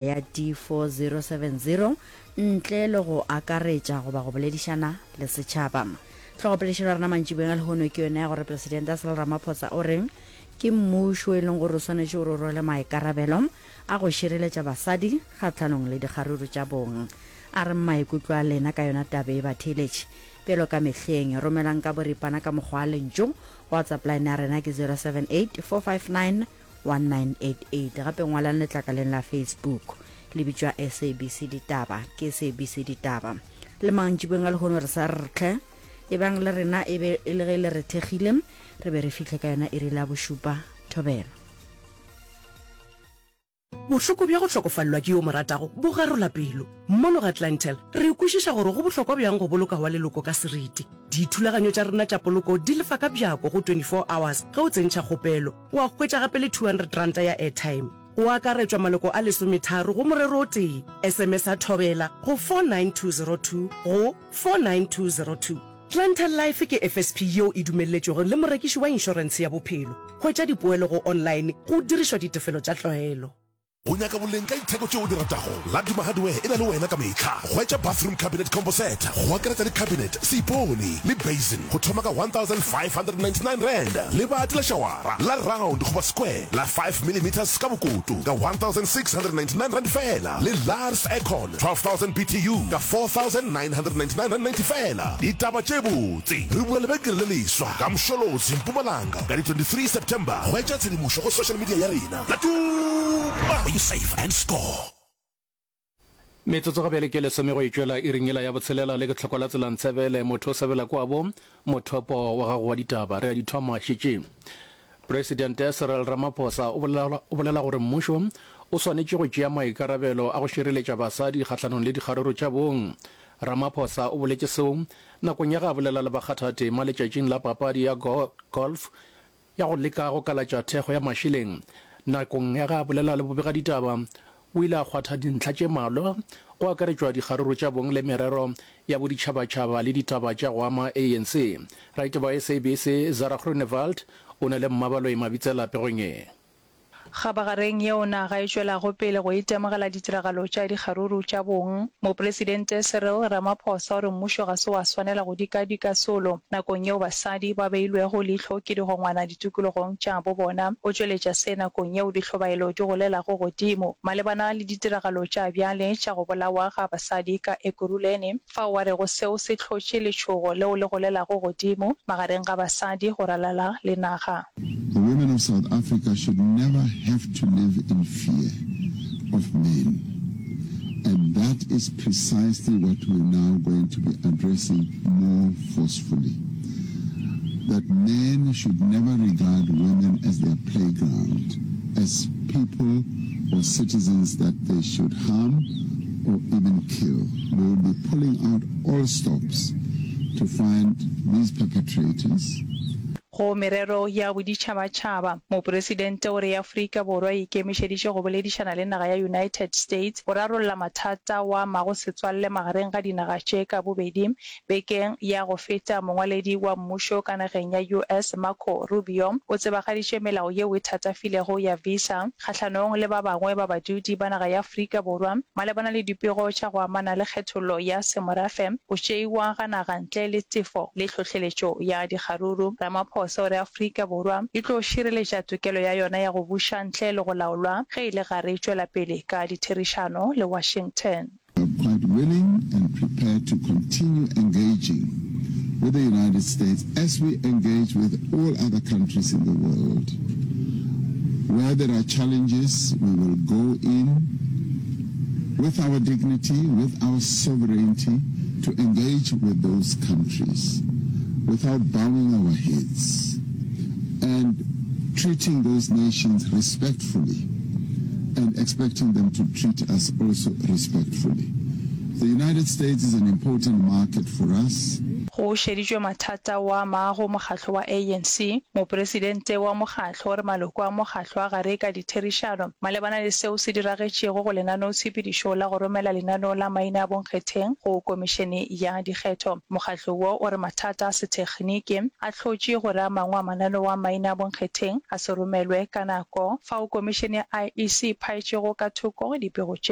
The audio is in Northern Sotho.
Ya D4070 ntle le go akaretša goba go boledišana le setšhaba. Hlogopoledišano ya rena mantšiboeng a lehono ke yona ya gore Presidente Cyril Ramaphosa o re ke mmušo e leng gore o swanetše gore o rwale maikarabelo a go šireletša basadi kgahlanong le dikgaruru tša bong. A reng maikutlo a lena ka yona taba e batheeletši? Bjalo ka mehleng, romelang ka boripana ka mokgwa wa lentšu. WhatsApp line ya rena ke 078 459 1988. Gape ngwalang letlakaleng la Facebook le bitšwa SABC Ditaba. Ke SABC Ditaba. Le mantšiboeng a lehono re sa re tlhe. Ebang le rena e be e le ge le re thekgile, re be re fihle ka yona iri la bošupa. Thobela. Bohloko bja go hlokofalelwa ke yo o mo ratago bo garola pelo. Mono ga Clientele, re kwešiša gore go bohlokwa bjang go boloka wa leloko ka seriti. Dithulaganyo tša rena tša poloko di lefa ka bjako go 24 hours ge o tsentšha kgopelo. Wa hwetša gape le R200 ya airtime. Go akaretšwa maloko a lesometharo go morero o tee. SMS-a Thobela go 49202 go 49202. Clientele Life ke FSP yeo e dumelletšwego le morekiši wa inšorentshe ya bophelo. Hwetša dipoelo go online go dirišwa ditefelo tša tlwaelo. O nyaka boleng ka ditheko tšeo o di ratago? Laduma Hardware e na le wena ka mehla. Hwetša bathroom cabinet combo set go akaretša le cabinet, seipone le basin go thoma ka R1599. Lebati la šawara la round goba square la 5 millimeters ka bokoto ka R1699 feela le Lars aircon 12000 BTU ka R4999.90 feela. Ditaba tše botse! Re bula lebenkele le leswa ka Msholozi, Mpumalanga ka di 23 September. Hwetša tshedimošo go social media ya rena. Laduma! Where you save and score. Metsotso ga bjale ke lesome go e tšwela iring yela ya botshelela le ke tlhoko la tsela Ntshebele motho o sebela kwabo mothopo wa gago wa ditaba re a di thoma šetše Presidente Cyril Ramaphosa o bolela, o bolela gore mmušo o swanetše go tšea maikarabelo a go šireletša basadi kgahlanong le dikgaruru tša bong. Ramaphosa o boletše seo nakong ya ge a bolela le bakgathatema letšatšing la papadi ya golf ya go leka go kalatša thekgo ya mašeleng. Nakong ya ge a bolela le bobegaditaba, o ile a kgwatha dintlha tše mmalwa, go akaretšwa dikgaruru tša bong le merero ya boditšhabatšhaba le ditaba tša go ama ANC. Raitaba wa SABC, Zara Groenewald, o na le Mmabaloi Mabitsela pegong ye. Kgabagareng yeo naga e tšwelago pele go itemogela ditiragalo tša dikgaruru tša bong, Mopresidente Cyril Ramaphosa o re mmušo ga se wa swanela go dikadika solo nakong yeo basadi ba beilwego leihlo ke digongwana ditikologong tša bo bona. O tšweletša se nakong yeo dihlobaelo di golelago godimo malebana le ditiragalo tša bjale tša go bolawa ga basadi ka Ekurhuleni, fao a rego seo se hlotše letšhogo leo le golelago godimo magareng ga basadi go ralala le naga. The women of South Africa should never have to live in fear of men and that is precisely what we're now going to be addressing more forcefully, that men should never regard women as their playground, as people or citizens that they should harm or even kill. We will be pulling out all stops to find these perpetrators. Go merero ya boditšhabatšhaba, Mopresidente o re Afrika Borwa e ikemišeditše go boledišana le naga ya United States go rarolla mathata wa amago setswalle magareng ga dinaga tše ka bobedi. Bekeng ya go feta, mongwaledi wa mmušo ka nageng ya US Marco Rubio o tsebagaditše melao yeo e thatafilego ya visa kgahlanong le ba bangwe ba badudi ba naga ya Afrika Borwa malebana le dipego tša go amana le kgethollo ya semorafe, go tšeiwa ga naga ntle le tefo le tlhohleletšo ya dikgaruru. Ramaphosa o re Afrika Borwa e tlo šireletša tokelo ya yona ya go buša ntle le go laolwa ge e le gare e tšwela pele ka ditherišano le Washington. We are quite willing and prepared to continue engaging with the United States as we engage with all other countries in the world. Where there are challenges, we will go in with our dignity, with our sovereignty, to engage with those countries without bowing our heads and treating those nations respectfully and expecting them to treat us also respectfully. The United States is an important market for us. Go šeditšwe mathata wa maago mokgatlo wa ANC. Mopresidente wa mokgatlo o re maloko a mokgatlo a gare ka ditherišano malebana le seo se diragetšego go lenaneotshepedišo la go romela lenaneo la maina a bonkgetheng go Komišene ya Dikgetho. Mokgatlo wo o re mathata a sethekgniki a hlotše gore a mangwe a mananeo a maina a bonkgetheng a se romelwe ka nako fao Komišene ya IEC e phaetšego ka thoko dipego tše.